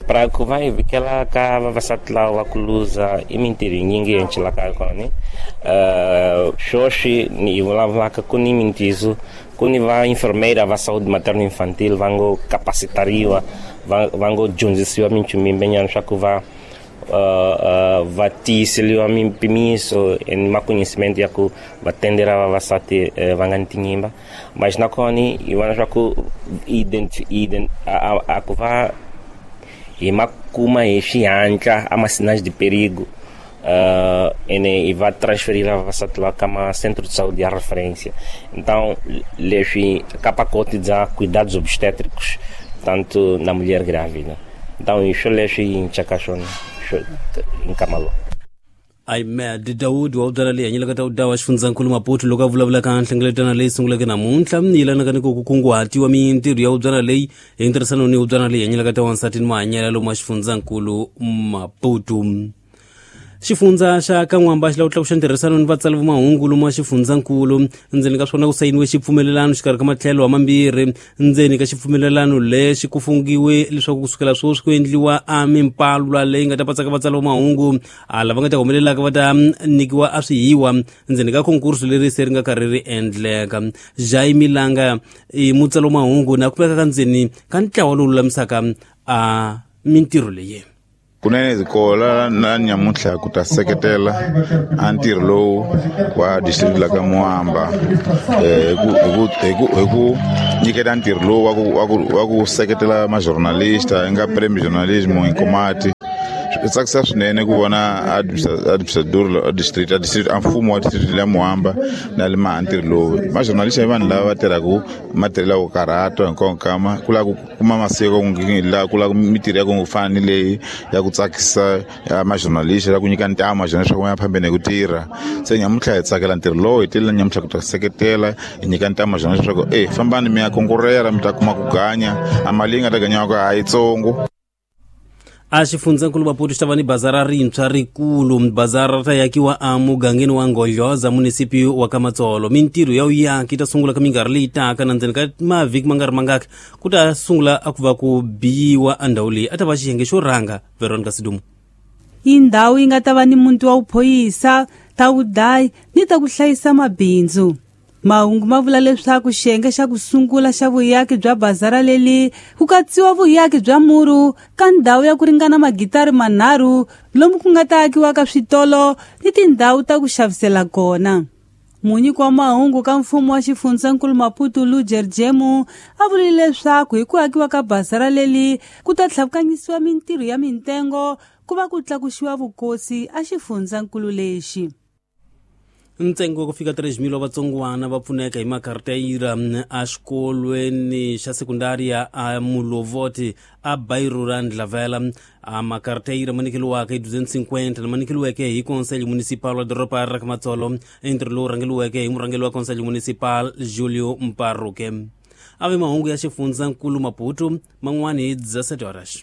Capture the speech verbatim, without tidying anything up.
Para ku va hi vikela ka vavasati lava va ku luza i mintirho yinyingi yi encilaka kona. Uh, sweswi ni vulavulaka ku ni mintizo ku ni va enfermeira va saúde materno infantil va ngo capacitariwa va, va ngo dyondzisiwa minchumu yimbenyana swa ku va uh, uh, va tiyiseliwa mimpimiso ni maconhecimento ya ku va tendera vavasati uh, va nga ni tinyimba. Mas nakona hi vona swa ku ident, ident, a, a, a ku va hi ma kuma hi xihatla a ma sinais de perigo, uh, ene e va transferir vavasati lava ka ma centro de saúde ya referência. Então leswi ka pacote bya cuidados obstétricos tanto na mulher grávida. Então isso leswi hi ncaka swona nkama lowu. Ahmed Daud wa ubyala leyi hanyelaka ta udawa xifundzankulu Maputo loko a vulavula ka nhlengeletano leyi sunguleke namuntlha yi yelanaka ni ku kunguhatiwa mintirho ya ubyala leyi hi ntirhisano ni ubyala leyi hanyelaka ta wansati ni mahanyelo lomu wa xifundzankulu Maputo. Xifundza xa Kan'wamba xi lava ku tlakuxa ntirhisano ni vatsali va mahungu lomu wa xifundzankulu. Ndzeni ka swona ku sayiniwe xipfumelelano xikarhi ka matlhelo mambirhi. Ndzeni ka xipfumelelano lexi ku fungiwe leswaku kusukela sweswi ku endliwa a mimpalwa leyi nga ta patsaka vatsali va mahungu a lava nga ta humelelaka va ta nyikiwa a swihiwa ndzeni ka konkurso leri se ri nga karhi ri endleka. Jaime Langa i mutsali wa mahungu na kumeka ka ndzeni ka ntlawa lowu lulamisaka a mintirho leyi. Kunene zikola na nyamuntlha ku ta seketela a ntirho lowu wa district la ka Moamba eh ku ku ku ku nyiketa ntirho lowu wa ku wa ku wa ku seketela ma journalista nga prime journalism inkomati. Swi tsakisa swinene ku vona administrador district a district a mfumo wa district la Moamba na le ma ntirho lowu. Ma journalista i vanhu lava va tirhaka matirhelo ya ku karhata hinkwawo nkama ku lava ku kuma masiko la ku lava mintirho ya ku fana ni leyi ya ku tsakisa ma journalista ya ku nyika ntamu ma journalista ku ya phambeni hi ku tirha. Se nyamuntlha hi tsakela ntirho lowu hi tile nyamuntlha ku ta seketela hi nyika ntamu ma journalista leswaku e fambani mi ya konkurera mi ta kuma ku ganya a mali yi nga ta ganyiwaka a yitsongo. A xifundzankulu Maputo xi ta va ni bazara rintshwa rikulu. Bazara ra yakiwa a mugangeni wa Nghodloza munisipi wa Kamatsolo. Mintirho ya uyaki ta sungula ka minkarhi leyi taka na ndzeni ka mavhiki ma nga ri mangaki ku ta sungula a ku va ku biyiwa a ndhawu leyi a ta va xiyenge xo rhanga. Veronica Sidumo. I ndhawu yi nga ta va ni muti wa vuphorisa ta vudayi ni ta ku hlayisa mabindzu. Mahungu ma vula leswaku xiyenge xa ku sungula xa vuyaki bya bazara leli ku katsiwa vuyaki bya muru ka ndhawu ya ku ringana magitari manharhu lomu ku nga ta akiwa ka switolo ni tindhawu ta ku xavisela kona. Munyiki wa mahungu ka mfumo wa xifundzankulu Maputo Lujer Jemu a vurile leswaku hi ku akiwa ka bazara leli ku ta tlhavukanyisiwa mintirho ya mintengo ku va ku tlakuxiwa vukosi a xifundzankulu lexi. Ntsengo wa ku fika três mil wa vatsongwana va pfuneka hi makarteyira a xikolweni xa sekundaria a Mulovoti a bairro ra Ndlavela. A makarteyira ma nyikeliwaka hi duzentos e cinquenta lama nyikeliweke hi Conselho Municipal wa doroba ra Kamatsolo. I ntirho lowu rhangeliweke hi murhangeri wa Conselho Municipal Julio Mparuke. A ve mahungu ya xifundzankulu Maputo man'wani hi dezessete horas.